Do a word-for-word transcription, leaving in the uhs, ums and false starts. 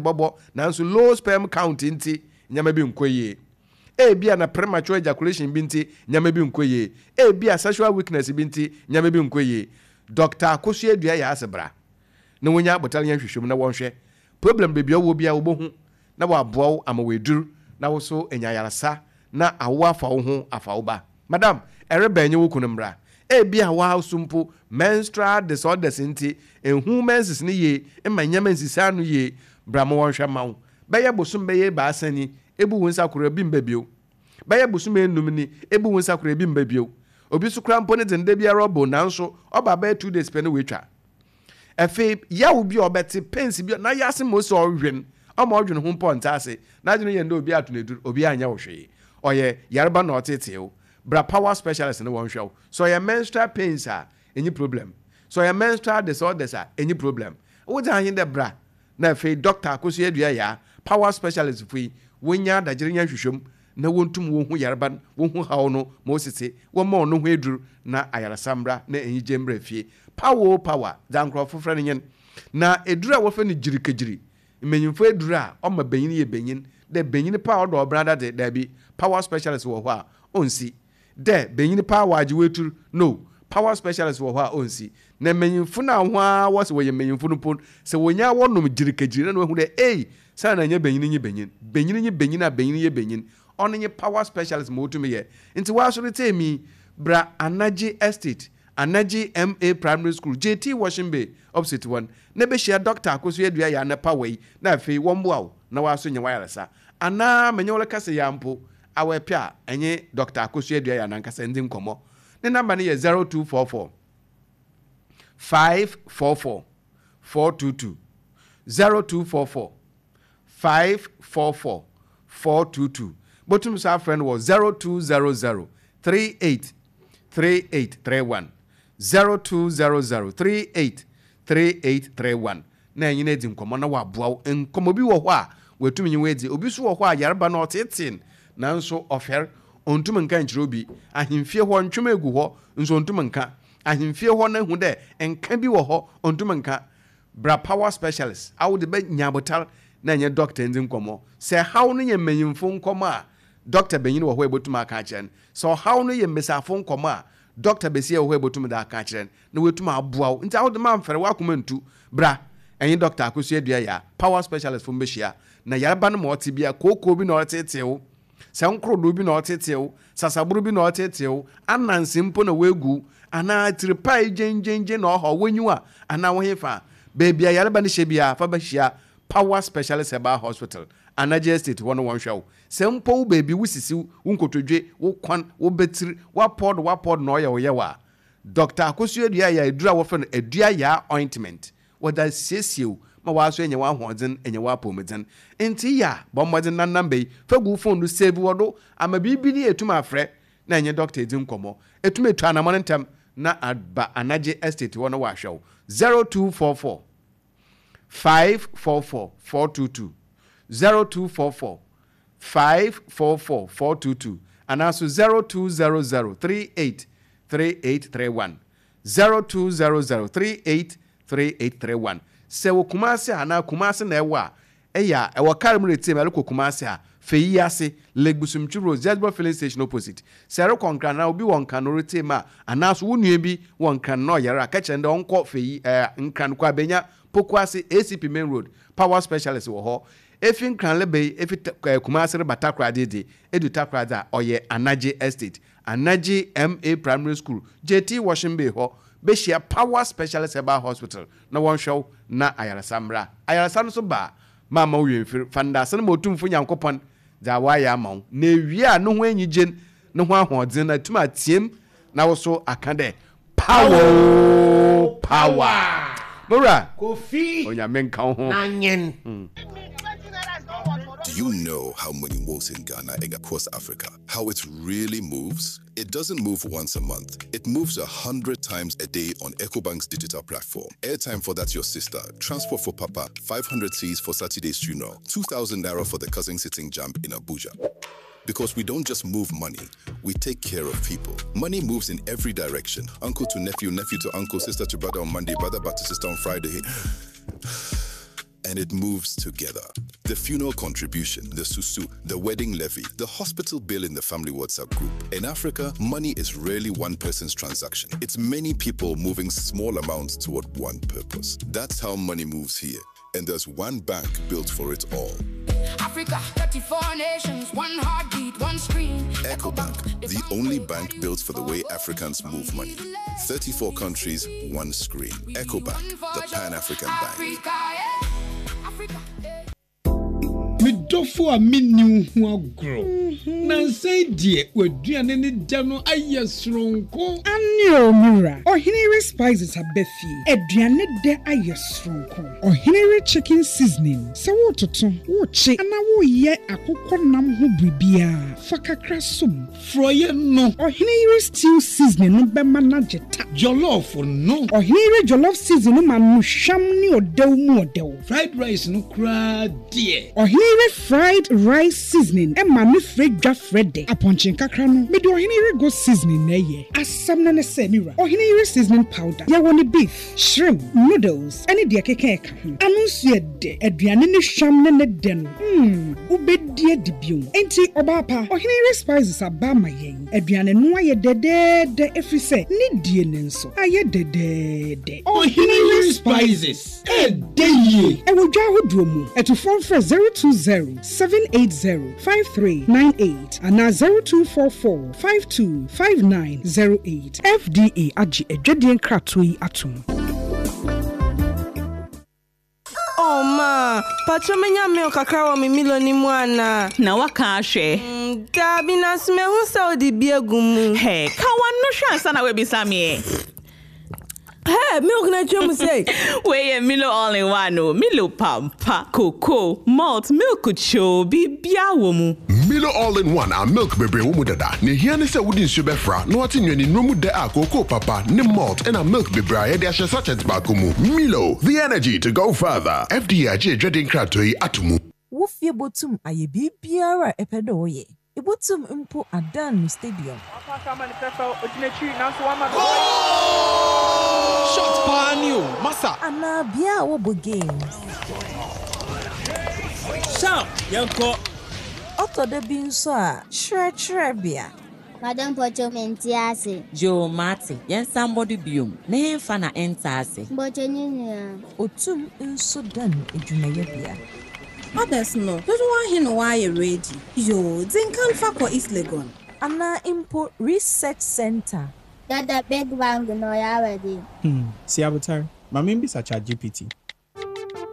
Bɔbɔ nanso low sperm count nti nneɛma bi nkɔ yie. Ebia na premature ejaculation bi nti nneɛma bi nkɔ yie. Ebia sexual weakness bi nti nneɛma bi nkɔ yie. Doctor Akosua Dua yɛ ase bra na wonya abotare yɛn hwehwɛmu na wɔnhwɛ problem beebi a ɔwɔ bi a wɔbɛhu na wɔaboa wo ama wɔaduru na wo so anya ayaresa na awo afa wo ho afa wo ba. Madam, ɛrebɛn nye wo kunu mbra. Ebia waa so mpo menstrual disorders nti ehu menses ne yie mma nneɛma nsisi ano yie. Bra ma wɔnhwɛ ma wo. Bɛyɛ bosom bɛyɛ ebaasa ni, ebu wo nsa koro, ebi mba bio. Bɛyɛ bosom enum ni, ebu wo nsa koro, ebi mba bio. Obi so kora mpo ne dze nda biara ɔbɔ, nanso ɔba bɛyɛ two days pɛ ne woetwa. Afei yaw bi a ɔbɛte, pains bi na yɛ ase ma osi ɔwen ɔma ɔdwene ho mpo ɔnte ase n'adwene yɛ ndɛ obi ato n'edur, obi anyɛ wo hwee, ɔyɛ yareba na ɔtetee wo. Bra Power Specialist ne wɔn hwɛ wo. Sɛ ɔyɛ menstrual pains a, enyi problem. Sɛ ɔyɛ menstrual disorders a, enyi problem. Wogye ahen dɛ bra na afei Doctor Akosua Dua Yaa, Power Specialist fo yi, wonya adagyere nya nhwehwɛm na wɔntum wɔn ho yareba no, wɔn ho haw no ma osisi, wɔma ɔno ho eduru na ayaresa mbra na enyigye mbra fie. Power o, power dza nkurɔfo frɛ no nyen na eduru a wɔfrɛ no gyirikagyiri, mmanyimfo eduru a ɔma benyin yɛ benyin dɛ benyin pa a ɔdɔ ɔbra dade. Daabi, Power Specialist wɔ hɔ a ɔnsi dɛ benyin pa a wɔagye wetur no. Power Specialist wɔ hɔ a ɔnsi na mmanyimfo no a ho a wɔsɛ wɔyɛ mmanyimfo no mpo sɛ wɔnya wɔnom gyirikagyiri na wɔahu dɛ ei, saa na nyɛ benyin nye benyin, benyin nye benyin a benyin yɛ benyin. Ɔno nye Power Specialist ma wotumi yɛ. Nti wɔasɔre tee mi, bra Anagye Estate, Anagye Ma Primary School, J T Washing Bay opposite wɔn na bɛhyia Doctor Akosua Dua yɛ anapa wɔ yi na afei wɔn mboa wo na wɔaso nyɛ wayaresa anaa menye wɔn kasa yɛ ampo awɔ ɛpɛ a ɛnye Doctor Akosua Dua yɛ anankasa ndi nkɔmɔ. Ne number no yɛ zero two four four five four four four two two, zero two four four five four four four two two. Bɔtum so afrɛ no wɔ zero two zero zero three eight three eight three one, zero two zero zero three eight three eight three one, na ɛnyina adi nkɔmmɔ na waboa wo. Nkɔmmɔ bi wɔ hɔ a watumi nye wo adi. Obi so wɔ hɔ a yareba no ɔteetee nanso ɔfɛr, ɔntum nka nkyerɛ obi. Ahemfie hɔ ntwom egu hɔ nso ɔntum nka. Ahemfie hɔ no ehu dɛ nka bi wɔ hɔ, ɔntum nka. Bra Power Specialist awo de bɛ nya abotar na ɛnyɛ doctor ndzi nkɔmmɔ. Sɛ haw no yɛ mmanyimfo nkɔmmɔ a, doctor benyin wɔ hɔ a ebotumi aka akyerɛ no. Sɛ ɔhaw no yɛ mmesiafo nkɔmmɔ a, doctor besia wɔ hɔ a ebotumi de aka akyerɛ no na watumi aboa wo. Nti awo de ma mfɛrɛ wakoma ntu, bra ɛnye Doctor Akosua Dua yɛ a Power Specialist fo mbɛhyia na yareba no ma ɔte bia kookoo bi na ɔretetee wo, sɛ nkorodo bi na ɔtetee wo, sasaboro bi na ɔtetee wo, ananse mpo na woegu anaa tiripae gyengyengyen na ɔha w'enyiwa anaa wo hefa beebi a yareba no hyɛ biara, fa bɛhyia Power Specialist Herbal Hospital, Anagye Estate hɔ no wɔnhwɛ wo. Sɛ mpo wo beebi wo sisi, wo nkotodwe, wo kwan, wo bɛtiri wapɔɔdo wapɔɔdo na ɔyɛ wo yɛ wɔ a, Doctor Akosua Dua yɛ aduru a wɔfrɛ no Adua Yaa Ointment, wɔde asiesie wo ma wɔaso anya w'ahoɔdzen, anya w'apɔmudzen. Nti yɛ a bɔ mmɔdzen na number yi fa gu wo phone do, save wɔ do ama biribi ne yɛtum afrɛ na ɛnyɛ doctor edzi nkɔmmɔ. Ɛtum etu anammɔ no ntɛm na aba Anagye Estate hɔ no wɔahwɛ wo. zero two four four five four four four two two, zero two four four five four four four two two, anaaso zero two zero zero three eight three eight three one, zero two zero zero three eight three eight three one. Sɛ wɔ Kumase anaa Kumase na ɛwɔ a, ɛyɛ a ɛwɔ kar mu retie mu ɛrekɔ Kumase a, fɛyi ase, Lake Busumtwi Road, Zesbo Filling Station opposite. Sɛ ɛrekɔ Nkran na obi wɔ Nkran no retie mu a, anaaso wo nua bi wɔ Nkran na ɔyɛre a, kɛkyerɛ no dɛ ɔnkɔ fɛyi ɛɛ Nkran kɔ abɛnya Poku Ase, A C P Main Road, Power Specialist wɔ hɔ. Efi Nkran leba yi, efi ɛɛ Kumase reba Takoradi de edu Takoradi a, ɔyɛ Anagye Estate, Anagye Ma Primary School, J T Washing Bay hɔ, bɛhyia Power Specialist Herbal Hospital na wɔnhwɛ wo na ayaresa mmra. Ayaresa no so ba a, maama wo yɛmfiri fa ndase no ma Otumfo Nyankopɔn dza wayɛ ama wo na ewie a ne ho enyigye ne ho ahoɔdzen na atum ateam na wo so aka dɛ power power mowura. Kofi. Onyame nka wo ho. Na nyen. Do you know how money moves in Ghana and across Africa? How it really moves? It doesn't move once a month. It moves a hundred times a day on EcoBank's digital platform. Airtime for that your sister, transport for papa, five hundred cedis for Saturday's funeral, two thousand naira for the cousin sitting JAMB in Abuja. Because we don't just move money, we take care of people. Money moves in every direction. Uncle to nephew, nephew to uncle, sister to brother on Monday, brother back to sister on Friday. And it moves together. The funeral contribution, the susu, the wedding levy, the hospital bill in the family WhatsApp group. In Africa, money is rarely one person's transaction. It's many people moving small amounts toward one purpose. That's how money moves here. And there's one bank built for it all. Africa, thirty-four nations, one heartbeat, one screen. EcoBank, the only bank built for the way Africans move money. thirty-four countries, one screen. EcoBank, the Pan-African bank. Africa, yeah. Africa, yeah. Me dɔfo a menni wo ho agorɔ. Na nsɛn deɛ w'aduane ne da no ayɛ soronko. Ane o mura. Ɔhenere spices aba fie. Aduane dɛ ayɛ soronko. Ɔhenere chicken seasoning. Sɛ wototo, wokye, anaa woyɛ akokɔ nam ho biribiara, fa kakra som. Frɔyɛ no. Ɔhenere stew seasoning no bɛma no agye ta. Jollof no. Ɔhenere jollof seasoning no ma no hwam ne ɔdɛw mu ɔdɛw. Fried rice no koraa deɛ. Ɔhenere fried rice seasoning ɛma ne frɛ dwa frɛ dɛ. Apɔnkye nkakra no, mede ɔhenere goat seasoning na ɛyɛ. Asɛm no ne sɛ, mira, ɔhenere seasoning powder, yɛwɔ ne beef, shrimp, noodles, ɛne deɛ keka ɛka ho. Ano nso yɛ dɛ, aduane ne hwam ne ne dɛ no, hmm, wobɛdi adi bio. Enti, ɔbaa pa, ɔhenere spices aba ama yɛn. Aduane no ayɛ dɛdɛɛdɛ ɛfiri sɛ, ne die ne nso ayɛ dɛdɛɛdɛ. Ɔhenere spices, ɛdɛ yie. Ɛwɔ dwa ahodoɔ mu, ɛtofoɔ mfrɛ zero two zero seven eight zero five three nine eight anaa zero two four four five two five nine zero eight. F D A agye adwadeɛ nkratoɔ yi atom. Oh ma, patro, menya milk kakra wɔ me Milo ni mu ana? Na waka ahwɛ. Mm, Daabi, nanso mehu sɛ wode bi agu mu. Hɛ, ka w'ano hwɛ ansa na woabisa me ɛ. Hey, milk na atwa mu sɛ. Wei yɛ Milo all in one o. Milo pampa, cocoa, malt, milk kyoo, biribiara wɔ mu. Milo all in one a milk bebree wɔ mu dada. Na ehia ne sɛ wode nsuo bɛfra na wate nnuane nnuro mu dɛ a cocoa papa ne malt ɛna milk bebree a yɛde ahyɛ sachet baako mu. Milo, the energy to go further. F D A agye adwade nkratoɔ yi ato mu. Wo fie botum ayɛ biribiara a ɛpɛ dɛ ɔyɛ. Ebotum mpo adan no stadium. Shot paa ni o, masa. Anaa bea a wɔbɔ games. Sharp, yɛnkɔ. Ɔtɔ da bi nso a, kyerɛkyerɛbea. Madam, mpɔkyɛ, mente ase. Yoo, mate, yɛnsan mbɔ do biom na yɛmfa na ɛnta ase. Mpɔkyɛ, ne nyinaa. Otum nso dan edwumayɛbea. Others no, dodoɔ ahe na wɔayɛ ready? Yoo, dze nkan fa kɔ East Legon. Anaa mpo research center. Dada, big bang na ɔyɛ awɛde. Hmm, si abotare. Ma membisa Chat G P T.